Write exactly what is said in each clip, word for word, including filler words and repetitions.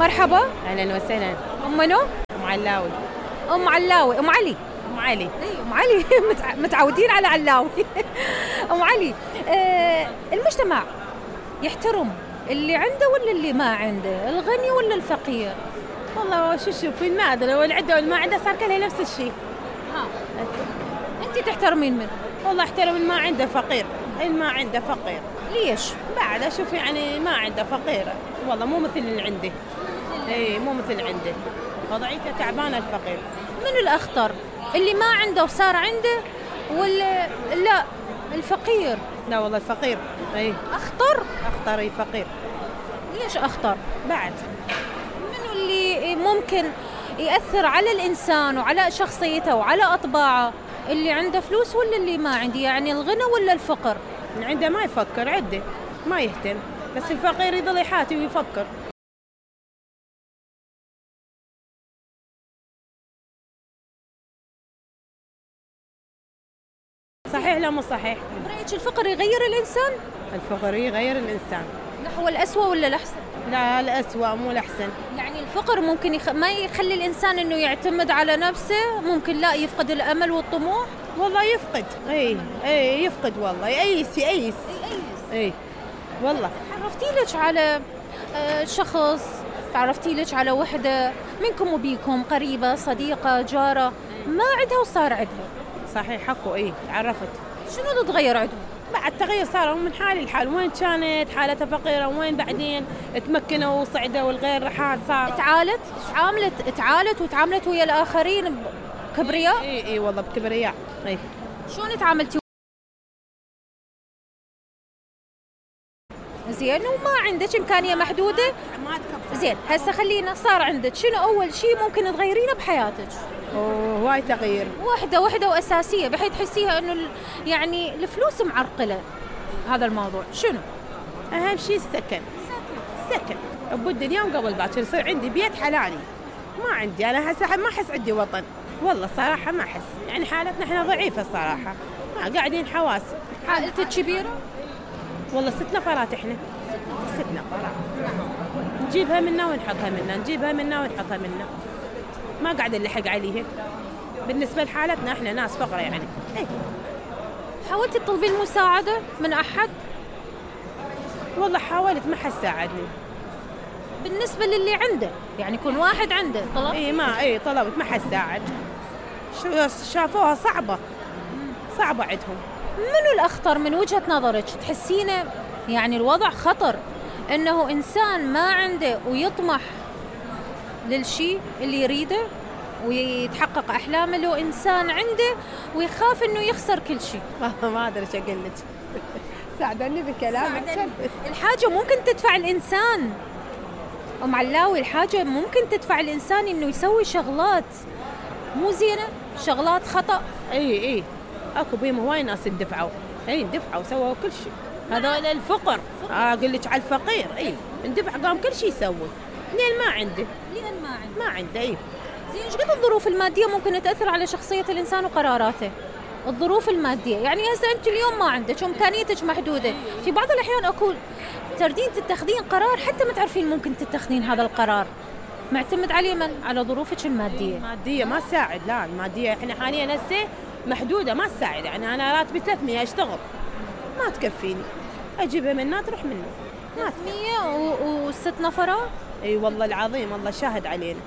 مرحبا. اهلا وسهلا. ام منو؟ ام علاوي. ام علاوي. ام علي. ام علي. اي ام علي. متعودين على علاوي. ام علي، آه المجتمع يحترم اللي عنده ولا اللي ما عنده، الغني ولا الفقير؟ والله شو شوفي النادر واللي عنده واللي ما عنده صار كله نفس الشيء. ها انت تحترمين منه؟ والله احترم اللي ما عنده فقير، اللي ما عنده فقير. ليش؟ بعد اشوف يعني ما عنده فقير، والله مو مثل اللي عنده. اي مو مثل اللي عنده، وضعيته تعبانه الفقير. من الاخطر اللي ما عنده وصار عنده ولا لا الفقير؟ لا والله الفقير. اي اخطر. اخطر. اي فقير. ليش اخطر؟ بعد منو اللي ممكن يأثر على الإنسان وعلى شخصيته وعلى أطباعه؟ اللي عنده فلوس ولا اللي ما عنده؟ يعني الغنى ولا الفقر؟ اللي عنده ما يفكر، عنده ما يهتم، بس الفقير يضل يحاتي ويفكر. صحيح لا مو صحيح؟ برأيك الفقر يغير الإنسان؟ الفقر يغير الإنسان نحو الأسوأ ولا الأحسن؟ لا الأسوأ مو الأحسن. يعني الفقر ممكن يخ... ما يخلي الإنسان إنه يعتمد على نفسه، ممكن لا يفقد الأمل والطموح. والله يفقد. اي اي يفقد والله، يأيس يأيس. يأيس. اي والله. تعرفتي لك على شخص، تعرفتي لك على وحدة منكم وبيكم قريبة صديقة جارة ما عندها وصار عندها؟ صحيح حكوا. اي تعرفت. شنو اللي تغير عندهم؟ بعد تغير صاروا من حال لحال، وين كانت حالتها فقيرة وين بعدين تمكنوا وصعدوا والغير حال صار. تعالت تعاملت تعالت وتعاملت ويا الآخرين بكبرياء؟ اي اي والله بكبرياء. اي شلون تعاملتي؟ زين وما عندك إمكانية محدودة؟ زين هسه خلينا صار عندك، شنو أول شيء ممكن تغيرينه بحياتك؟ هواي تغيير. واحدة واحدة وأساسية بحيث تحسيها إنه يعني الفلوس معرقلة هذا الموضوع. شنو؟ أهم شيء السكن. سكن. أبو الدنيا وقبل باكر يصير عندي بيت حلالي. ما عندي أنا هسه ما أحس عندي وطن. والله صراحة ما أحس، يعني حالتنا إحنا ضعيفة الصراحة. ما قاعدين حواس. عائلتك كبيرة؟ والله ست نفرات إحنا. ست نفرات. نجيبها منا ونحطها منا، نجيبها منا ونحطها منا. ما قاعد نلحق عليها. بالنسبة لحالتنا إحنا ناس فقرة يعني. إيه. حاولتي تطلبين مساعدة من أحد؟ والله حاولت ما حد ساعدني. بالنسبة للي عنده، يعني يكون واحد عنده طلب؟ إيه ما إيه طلبت ما حد ساعد. شو شافوها صعبة. صعبة عندهم. منو الأخطر من وجهة نظرك؟ تحسينه يعني الوضع خطر إنه إنسان ما عنده ويطمح للشيء اللي يريده ويتحقق أحلامه، لو إنسان عنده ويخاف إنه يخسر كل شيء؟ ما أدري إيش أقول لك. ساعدني بكلامك. الحاجة ممكن تدفع الإنسان أم علاوي، الحاجة ممكن تدفع الإنسان إنه يسوي شغلات مو زينة، شغلات خطأ. إيه إيه أكو بيهم هواي ناس اندفعوا. إيه اندفعوا وسووا كل شيء. هذول الفقر. أقول لك على الفقير. إيه اندفع قام كل شيء يسوي. لين ما عنده. لين ما عنده. ما عنده. إيه. زين ايش قد الظروف المادية ممكن تأثر على شخصية الإنسان وقراراته؟ الظروف المادية يعني هسه أنت اليوم ما عندك وإمكانيتك محدودة، في بعض الأحيان أقول تردين تتخذين قرار حتى ما تعرفين ممكن تتخذين هذا القرار، معتمد على من؟ على ظروفك المادية. المادية ما تساعد. لا المادية إحنا حاليا هسه محدودة ما تساعد، يعني أنا راتبي ثلاثمية أشتغل ما تكفيني، أجيبها منها تروح منه. ثلاثمية وست نفرات؟ اي والله العظيم والله شاهد علينا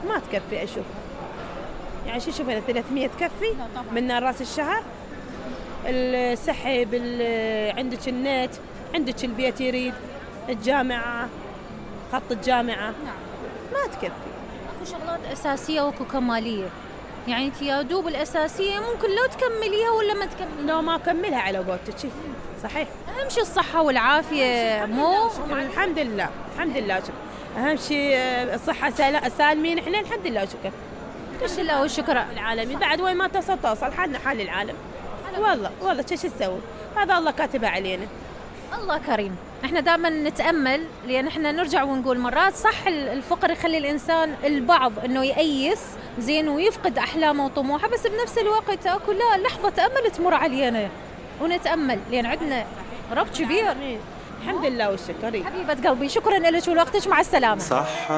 ما تكفي. اشوف يعني شو شوف انا ثلاثمية تكفي من راس الشهر؟ السحب، عندك النت، عندك البيت يريد، الجامعة، خط الجامعة. نعم. ما تكفي. اكو شغلات اساسية واكو كمالية، يعني انت يا دوب الاساسية ممكن لو تكمليها ولا ما تكمليها. لو ما اكملها على قولتك. صحيح. اهم شيء الصحة والعافية. مو الحمد لله الحمد لله شكرا. اهم شيء الصحة سالمين احنا الحمد لله شكرا. الحمد لله والشكر العالمين. بعد وين ما تصل توصل حالنا حال العالم. والله والله شو تسوي، هذا الله كاتبه علينا. الله كريم. احنا دائما نتأمل، لأن احنا نرجع ونقول مرات صح الفقر يخلي الإنسان البعض انه يأيس زين ويفقد أحلامه وطموحه، بس بنفس الوقت اكو لا لحظة أمل تمر علينا ونتأمل، لأن عندنا رب كبير. الحمد لله والشكر. حبيبة قلبي شكرا لك ولوقتك، مع السلامة. صح.